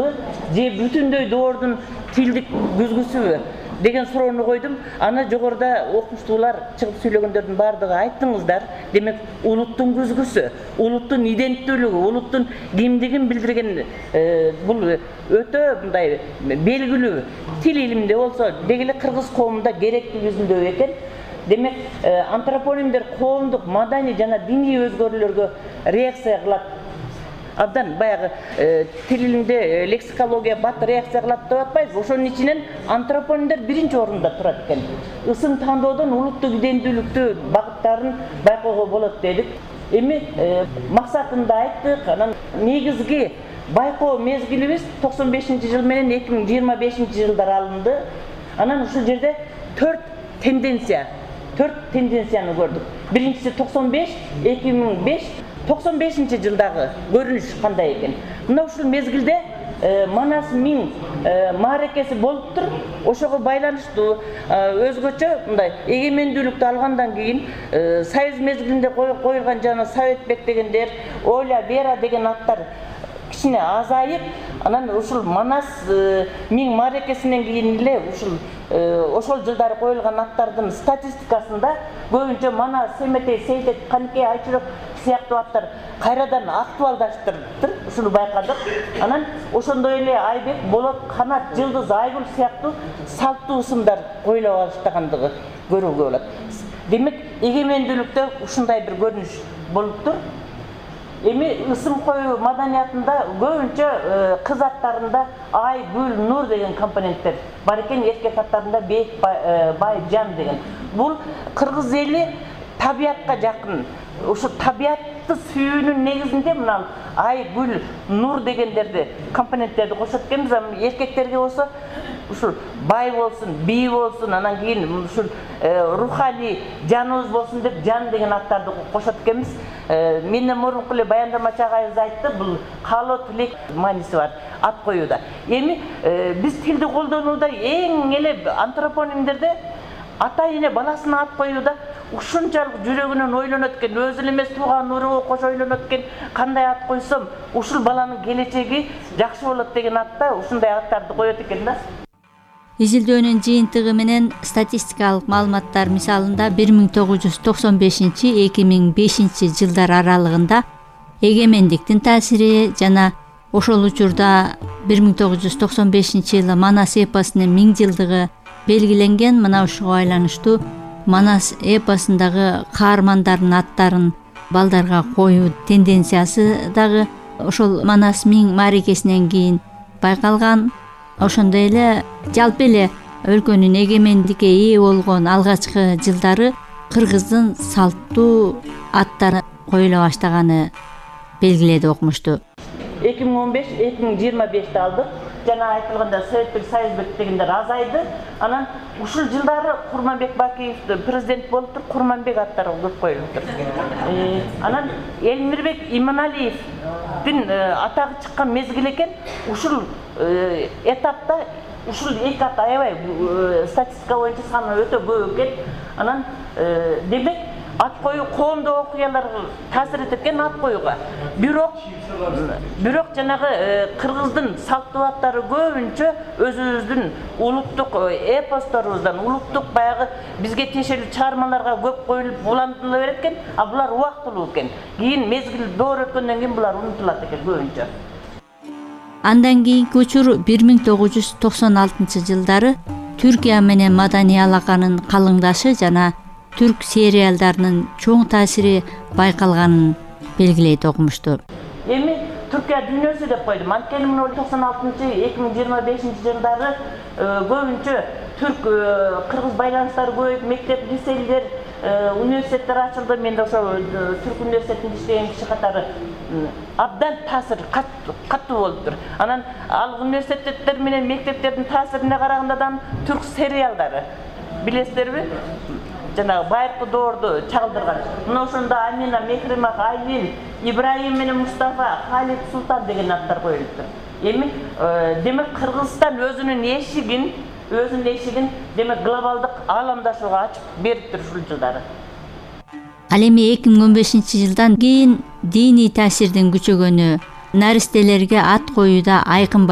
лазымбы же бүтүндөй доордун тилдик күзгүсүбү деген суроону койдум. Аны жогоруда окумуштуулар чыгып сүйлөгөндөрдүн баардыгы айттыңыздар. Демек улуттун күзгүсү, улуттун иденттүүлүгү, улуттун кимдигин билдирген бул өтө мындай белгилүү. Тил илиминде болсо деги эле кыргыз коомунда керектүү жүзүндө экен. Демек антропонимдер коомдук, маданий жана диний өзгөрүүлөргө реакция кылат. Абдан баягы тил илиминде лексикология бат реакция кылат деп атпайбыз. Ошонун ичинен антропонимдер биринчи орунда турат экен. Ысым тандоодон улуттук иденттүүлүктү багыттарын байкоого болот дедик. Эми максатын да айттык. Анан негизги байкоо мезгилибиз 95-жыл менен 2025-жылдар алынды. Анан ушул жерде 4 тенденцияны көрдүк. Биринчиси 95, 2005, 95-жылдагы көрүнүш кандай экен. Мына ушул мезгилде Манас Миң мааракеси болуптур. Ошого байланыштуу өзгөчө мындай эгемендүүлүктү алгандан кийин Союз мезгилинде коюлган жана Советбек дегендер, Оля, Вера деген аттар кичине азайып, анан ушул Манас Миң мааракесинен кийин эле ошол жылдары коюлган аттардын статистикасында көбүнчө Манас, Семетей, Сейтек, Каникей, Айчурак сыяктуу аттар кайрадан актуалдаштырдыр. Ушуну байкадык. Анан ошондой эле Айбек, Болот, Канат, Жылдыз, Айгүл сыяктуу салттуу ысымдар коюла баштагандыгы көрүүгө болот. Демек эгемендүүлүктө ушундай бир көрүнүш болуптур. Эми ысым коюу маданиятында көбүнчө кыз аттарында Ай, Гүл, Нур деген компоненттер бар экен, эркек аттарында Бек, Бай, Жан деген. Бул кыргыз эли табиятка жакын. Ошо табиятты сүйүүнүн негизинде мына Ай, Гүл, Нур дегендерди компоненттерди кошот экенбиз. Эркектерге болсо ушул бай болсун, бий болсун, анан кийин ушул руханий жаныбыз болсун деп Жан деген аттарды кошот экенбиз. Менден мурунку эле баяндамачы агайыбыз айтты, бул каалоо тилек мааниси бар ат коюуда. Эми биз тилди колдонууда эң эле антропонимдерде ата-эне баласына ат коюуда ушунчалык жүрөгүнөн ойлонот экен, өзү эле эмес тууган уруу кошо ойлонот экен, кандай ат койсом ушул баланын келечеги жакшы болот деген атта ушундай аттарды коет экен да. Изилдөөнүн жыйынтыгы менен статистикалык маалыматтар мисалында 1995-2005 жылдар аралыгында эгемендиктин таасири жана ошол учурда 1995-жылы Манас эпосунун 1000 жылдыгы белгиленген. Мына ушуга байланыштуу Манас эпосундагы каармандардын аттарын балдарга коюу тенденциясы дагы ошол Манас Миң мааракесинен кийин байкалган. Ошондой эле жалпы эле өлкөнүн эгемендикке ээ болгон алгачкы жылдары кыргыздын салттуу аттары коюла баштаганы белгиледи окумушту. 2015-2025 алдык. Жана айтылганда Советбек, Союзбек дегендер азайды. Анан ушул жылдары Курманбек Бакиев президент болуптур, Курманбек аттары көп коюлуптур. Анан Элмирбек Иманалиевдин атагы чыккан мезгил экен. Ушул этапта ушул эки ат аябай статистика боюнча саны өтө көп экен. Анан демек ат коюу коомдук окуяларга таасир этет экен ат коюуга. Бирок жанагы кыргыздын салттуу аттары көбүнчө өзүбүздүн улуттук эпосторубуздан, улуттук баягы бизге тиешелүү чыгармаларга көп коюлуп улантыла берет экен, а булар убактылуу экен. Кийин мезгил доор өткөндөн кийин булар унутулат экен көбүнчө. Андан кийинки учур 1996 жылдары Түркия менен маданий алаканын калыңдашы жана түрк сериалдарынын чоң таасири байкалганын белгилейт окумушту. Эми Түркия дүйнөсү деп койдум. Анткени 96-2025 жылдары көбүнчө түрк кыргыз байланыштары көбөйүп, мектеп, лицейлер, университеттер ачылды. Мен да ошо түрк университетинде иштеген киши катары абдан таасир каттуу болуптур. Анан ал университеттер менен мектептердин таасирине караганда да түрк сериалдары билесиздерби? Жанагы байыркы доорду чагылдырган. Мына ошондо Амина, Мехримах, Айлин, Ибраим менен Мустафа, Халид, Султан деген аттар коюлуптур. Эми демек Кыргызстан өзүнүн эшигин демек глобалдык ааламдашууга ачып бериптир ушул жылдары. Ал эми 2015 жылдан кийин диний таасирдин күчөгөнү наристелерге ат коюуда айкын